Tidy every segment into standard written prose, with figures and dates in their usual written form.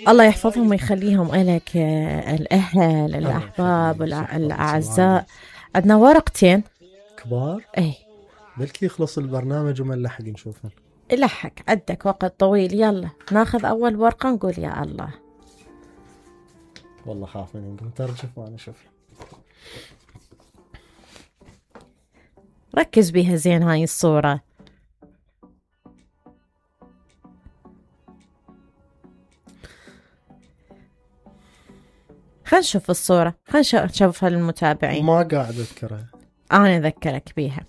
الله يحفظهم ويخليهم إلك، الأهل الأحباب الأعزاء. عندنا ورقتين كبار، ايه بلكي يخلص البرنامج وما نلحق نشوفه. لحق عندك وقت طويل، يلا ناخذ أول ورقة نقول يا الله. والله خاف مني، نقوم ترجف وأنا أشوف. ركز بيها زين هاي الصورة. خلينا نشوف الصورة، خلينا نشوفها للمتابعين. ما قاعد أذكرها. أنا أذكرك بيها.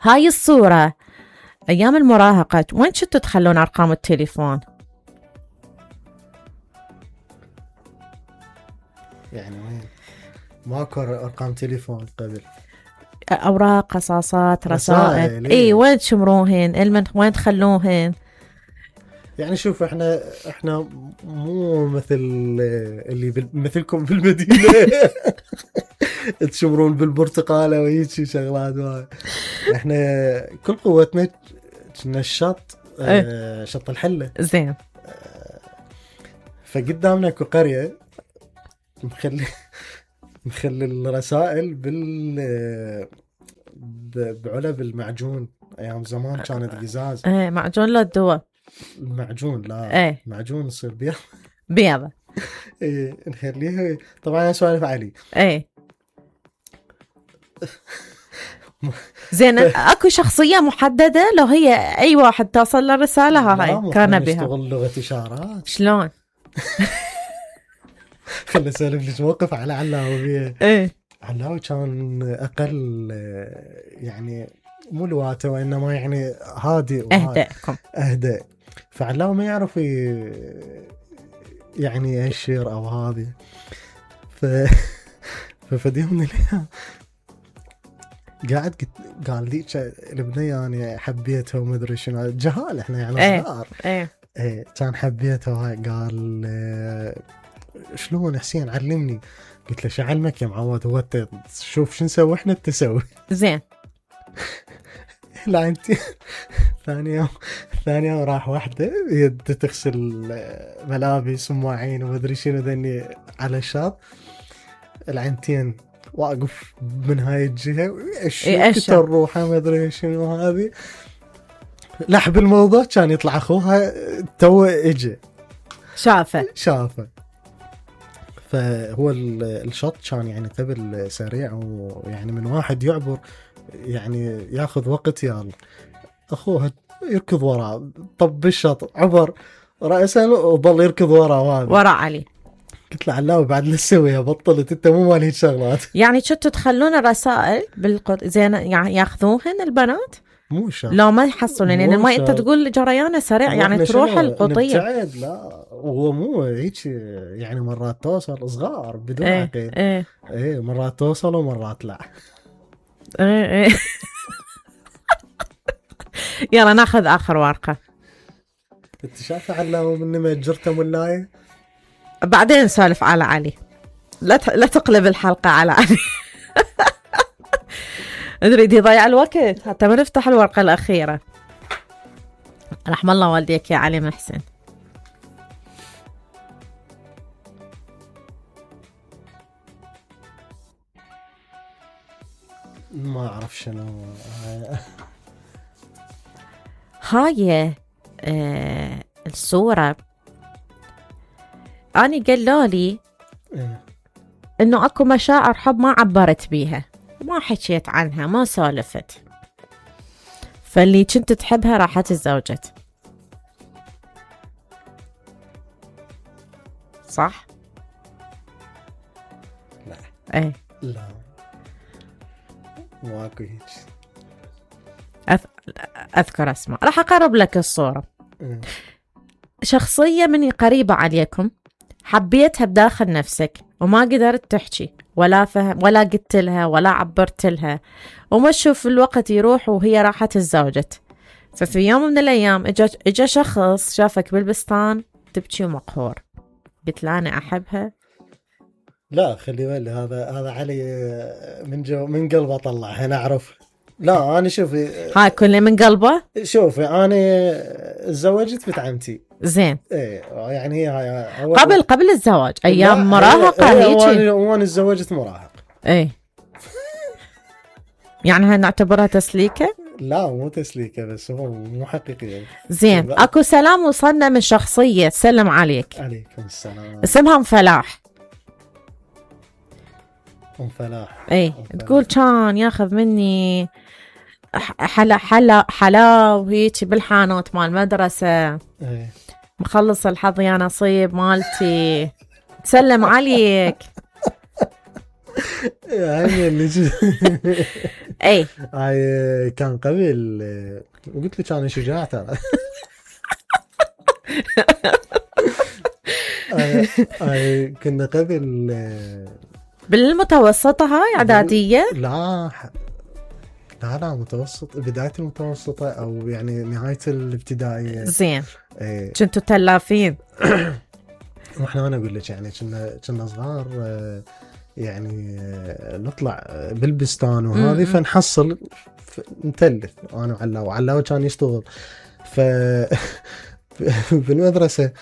هاي الصورة أيام المراهقة، وين كنتوا تخلون أرقام التليفون؟ يعني وين؟ ماكو أرقام تليفون قبل. أوراق، قصاصات، رسائل. إيه وين تشمروهن؟ وين تخلوهن؟ يعني شوف احنا مو مثل اللي مثلكم في المدينة تشمرون بالبرتقالة وهيك شغلات. احنا كل قوتنا كنا الشط، شط الحلة. زين. فقدامنا اكو قرية مخلي الرسائل بعلب المعجون. ايام زمان كانت قزاز. معجون لا الدواء. المعجون لا معجون يصير بيضة. ايه نخليها. طبعا انا سوالف علي. ايه زين. اكو شخصية محددة لو هي اي واحد توصل للرسالة هاي كان بها؟ نشتغل لغة اشارات. شلون؟ خلي اسولف لك موقف على علاوي بيه. ايه علاوي كان اقل، يعني مو لواته وانما يعني هادي اهدى. فعلاوي ما يعرف يعني الشير او هذه. ففديهم من الايام قال لي البنية يعني حبيتها وما ادري شنو، جهال احنا يعني صغار. ايه كان حبيتها وهاي. قال شلون حسين علمني؟ قلت له شو علمك يا معود؟ هو شوف شو نسوي احنا تسوي. زين. لا انت ثاني يوم راح واحدة يد تغسل ملابس ومواعين وما ادري شنو ذني على الشاط. العينتين واقف من هاي الجهة ايش الروحة ما ادري شنو هذه. لحب الموضوع كان يطلع اخوها تو اجى شافه. فهو الشط كان يعني قبل سريع، ويعني من واحد يعبر يعني ياخذ وقت. يلا اخوها يركض وراه، طب الشط عبر رأسا وظل يركض وراه علي. قلت له علاوي بعد لا تسويها، بطلت انت مو مال هيك شغلات. يعني شتوا تخلون الرسائل زين يعني ياخذوهن البنات؟ مو شرط. لا ما يحصلون يعني ما انت تقول جريانه سريع يعني تروح القضيه. لا هو مو هيك يعني، مرات توصل صغار بدون عقل. ايه مرات توصل ومرات لا. ايه يلا ناخذ اخر ورقه. انت شايفه علاوي من ما جرته ملايه. بعدين نسولف على علي، لا تقلب الحلقه على علي. ادري يضيع الوقت حتى ما نفتح الورقه الاخيره. رحم الله والديك يا علي محسن. ما اعرف شنو هاي الصورة. أنا قالوا لي إنه أكو مشاعر حب ما عبرت بيها، ما حكيت عنها، ما سولفت، فاللي كنت تحبها راحت الزوجت. صح؟ لا. ايه لا ماكو هيك. أذكر أسمع. راح أقرب لك الصورة. شخصية مني قريبة عليكم حبيتها بداخل نفسك وما قدرت تحكي ولا فهم ولا قلت لها ولا عبرت لها، وما تشوف الوقت يروح وهي راحت الزوجت. ففي يوم من الأيام إجا شخص شافك بالبستان تبكي ومقهور، قلت له أنا أحبها. لا خلي بالي، هذا علي من قلبه طلع. أنا أعرف لا انا شوفي هاي كله من قلبه. شوفي انا تزوجت بنت عمتي. زين. ايه يعني هي قبل الزواج ايام لا، مراهقه هيك. وانا تزوجت مراهق. ايه يعني هنعتبرها تسليكه. لا مو تسليكه، بس هو مو حقيقي. زين اكو سلام وصلنا من شخصيه تسلم عليك. عليكم السلام. اسمها ام فلاح. ام فلاح. ايه تقول كان ياخذ مني حلا وهيك بالحانوت مال المدرسه. ايه مخلص الحظ يا نصيب مالتي. تسلم عليك. يعني اللي اي هاي كان قبل، وقلت لك انا شجاع ترى. هاي كنا قبل بالمتوسطة هاي اعدادية. لا متوسط، بداية المتوسطة او يعني نهاية الابتدائية. زين. ايه كنتوا تلافين. واحنا انا اقول لك يعني كنا صغار، يعني نطلع بالبستان وهذه فنحصل نتلف انا وعلاوة كان يشتغل. ف بالمدرسة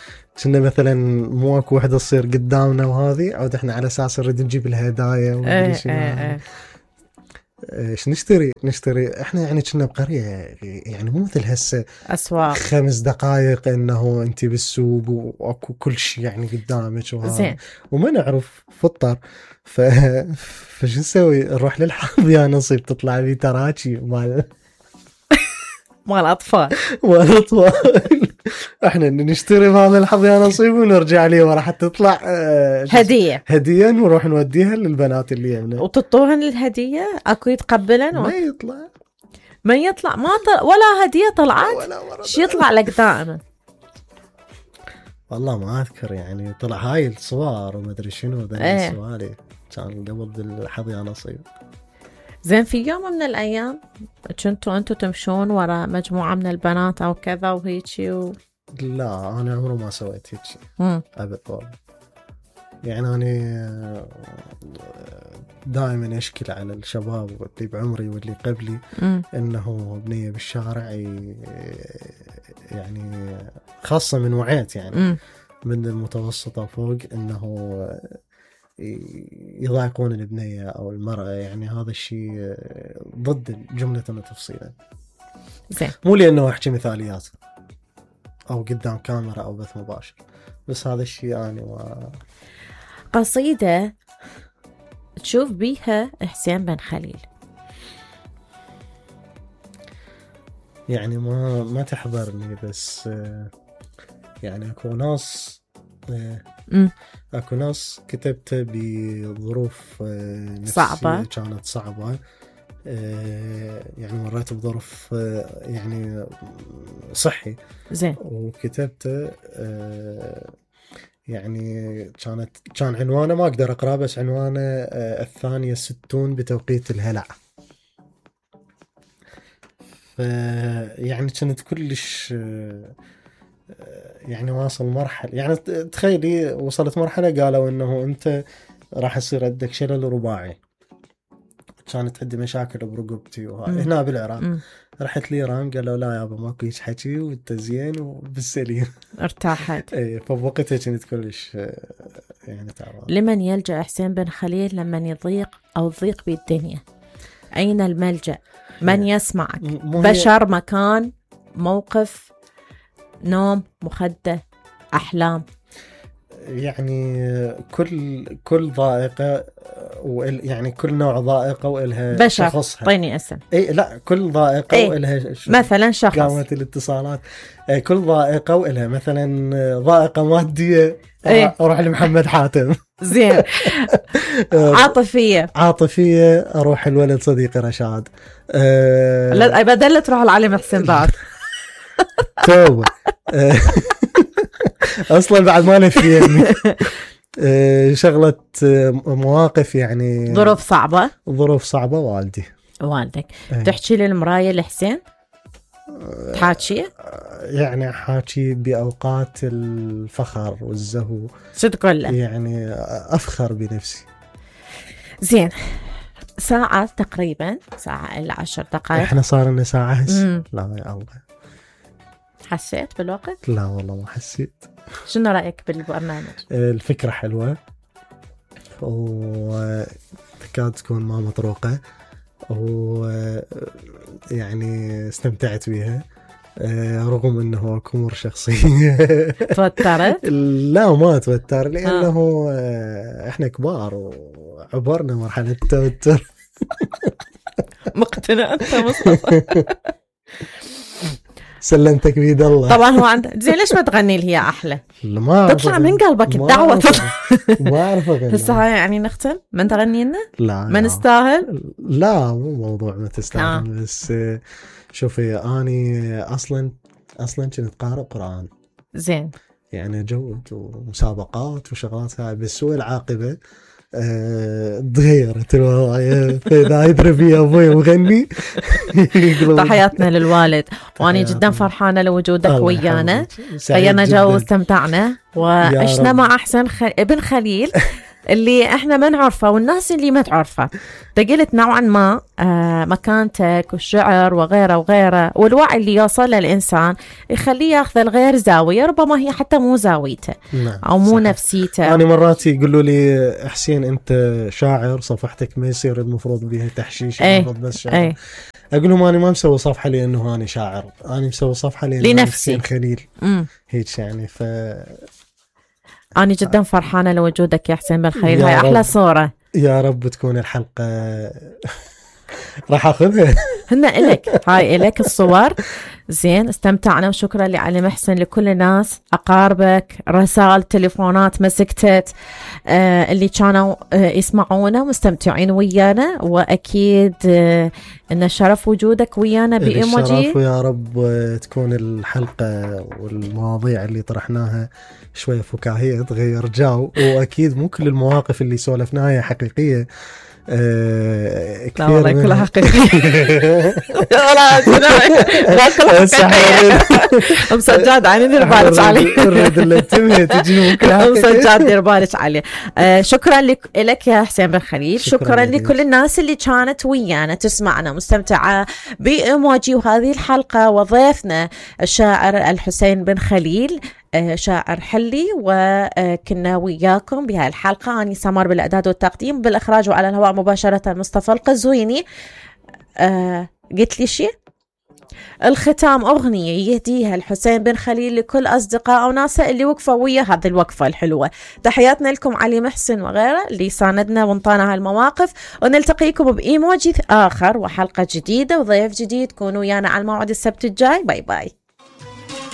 كنا مثلا مو اكو وحدة تصير قدامنا وهذه عود احنا على اساس نريد نجيب الهدايا ومدري شنو. ايش نشتري احنا يعني كنا بقرية، يعني مو مثل هسه اسواق 5 دقائق انه انت بالسوق واكو كل شيء يعني قدامك وهذا، وما نعرف فطر. فشو نسوي؟ نروح للحظ يا نصيب، تطلع لي تراكي مال اطفال. احنا نشتري مال الحظ يا نصيب ونرجع ليه ورا حتى تطلع هدية ونروح نوديها للبنات اللي يمنا. وتطوهن الهدية؟ اكو يتقبلن؟ ما يطلع ولا هدية طلعت. شو يطلع لك دائما؟ والله ما اذكر، يعني طلع هاي الصور وما ادري شنو ذا السوالي كان قبل بالحظ يا نصيب. زين في يوم من الايام كنتوا انتوا تمشون ورا مجموعة من البنات او كذا وهيجي لا انا عمره ما سويت هيك ابد والله. يعني انا دائما اشكل على الشباب اللي بعمري واللي قبلي انه بنية بالشارع، يعني خاصة من وعيت يعني من المتوسطة فوق انه يضايقون البنية او المرأة، يعني هذا الشيء ضد جملة وتفصيلا. مو لانه احكي مثاليات او قدام كاميرا او بث مباشر، بس هذا الشيء انا قصيدة تشوف بيها حسين بن خليل. يعني ما تحضرني، بس يعني اكو ناس كتبته بظروف صعبة، كانت صعبة، يعني مريت بظروف يعني صحي. زين. وكتبته يعني كان عنوانه ما اقدر اقراه، بس عنوانه 62 بتوقيت الهلع. يعني كنت كلش يعني واصل مرحلة، يعني تخيلي وصلت مرحلة قالوا انه انت راح يصير عندك شلل رباعي. كانت عندي مشاكل برقبتي هنا بالعراق. رحت لإيران قالوا لا يابا ماكو هيك حكي وانت زين وبالسليم. ارتاحت. اي فبوقتها كنت كلش يعني تعبان. لمن يلجأ حسين بن خليل لمن يضيق او تضيق بالدنيا؟ اين الملجأ؟ من يسمعك؟ بشر، مكان، موقف، نوم، مخدة، احلام؟ يعني كل ضائقة يعني كل نوع ضائقة وإلها شخصها. طيني اسم. اي لا كل ضائقة وإلها مثلا شخص. قامت الاتصالات. كل ضائقة وإلها مثلا ضائقة مادية اروح لمحمد حاتم. زين. عاطفية اروح الولد صديقي رشاد. لا بدل تروح العلي حسين بعد. توبة. اصلا بعد ما نفيني شغلة مواقف يعني ظروف صعبة والدك تحكي للمراية لحسين؟ تحاكي؟ يعني حاكي بأوقات الفخر والزهو. شو تقول له؟ يعني أفخر بنفسي. زين. ساعة تقريبا، ساعة إلى 10 دقائق. احنا صار لنا ساعة هسه. لا يا الله، حسيت بالوقت؟ لا والله ما حسيت. شنو رأيك بالبرنامج؟ الفكرة حلوة وتكاد تكون ما مطروقة، ويعني استمتعت بيها رغم انه اكو امور شخصية. توترت؟ لا ما توتر، لانه احنا كبار وعبرنا مرحلة التوتر. مقتنع انت مصطفى؟ سلمتك بيد الله. طبعا هو عندك زين، ليش ما تغني لي هي احلى؟ ما تطلع من قلبك الدعوة. ما اعرف اغني. هسه هاي يعني نختم من تغني لنا؟ لا ما نستاهل؟ لا مو موضوع ما تستاهل. بس شوفي اني اصلا كنت قارئ قرآن زين، يعني جود ومسابقات وشغلات هاي، بس هو العاقبة تغيرت الوضع. فإذا يدري بي أبوي مغني. تحياتنا للوالد، وأنا جدا فرحانة لوجودك ويانا. غيرنا جو واستمتعنا وعشنا مع أحسن ابن خليل اللي احنا ما نعرفه والناس اللي ما تعرفه. قلت نوعا ما مكانتك والشعر وغيره وغيره، والوعي اللي يوصل للإنسان يخليه ياخذ الغير زاوية ربما هي حتى مو زاويته أو مو صحيح. نفسيته. أنا مرات يقولوا لي حسين أنت شاعر، صفحتك ما يصير المفروض بها تحشيش، المفروض بس شاعر. أقول لهم أنا ما مسوي صفحة لأنه أنا شاعر، أنا مسوي صفحة لنفسي خليل. هيك يعني. أنا جدا فرحانة لوجودك يا حسين بن خليل. هاي أحلى صورة. يا رب تكون الحلقة راح أخذها. هنا إلك، هاي إلك الصور. زين، استمتعنا وشكرا لعلي محسن، لكل الناس أقاربك، رسائل تليفونات مسكتت، اللي كانوا يسمعونا مستمتعين ويانا، وأكيد إن شرف وجودك ويانا بإيموجي. الشرف، ويا رب تكون الحلقة والمواضيع اللي طرحناها شوية فكاهية تغير جو، وأكيد مو كل المواقف اللي سولفناها حقيقية. لا والله كلها حقيقية. أم سجاد عيني دير بالك عليه. أم سجاد دير بالك عليه. شكرا لك يا حسين بن خليل. شكرا لكل الناس اللي كانت ويانا تسمعنا مستمتعة بإيموجي وهذه الحلقة، وضيفنا الشاعر الحسين بن خليل، شاعر حلي، وكنا وياكم بهاي الحلقة. أنا سمر بالإعداد والتقديم، بالإخراج وعلى الهواء مباشرة مصطفى القزويني. قلت لي شيء الختام أغنية يهديها الحسين بن خليل لكل أصدقاء وناسه اللي وقفوا ويا هذه الوقفة الحلوة. تحياتنا لكم علي محسن وغيره اللي ساندنا وانطانا هالمواقف، ونلتقيكم بإيموجي آخر وحلقة جديدة وضيف جديد. كونوا ويانا على الموعد السبت الجاي. باي باي.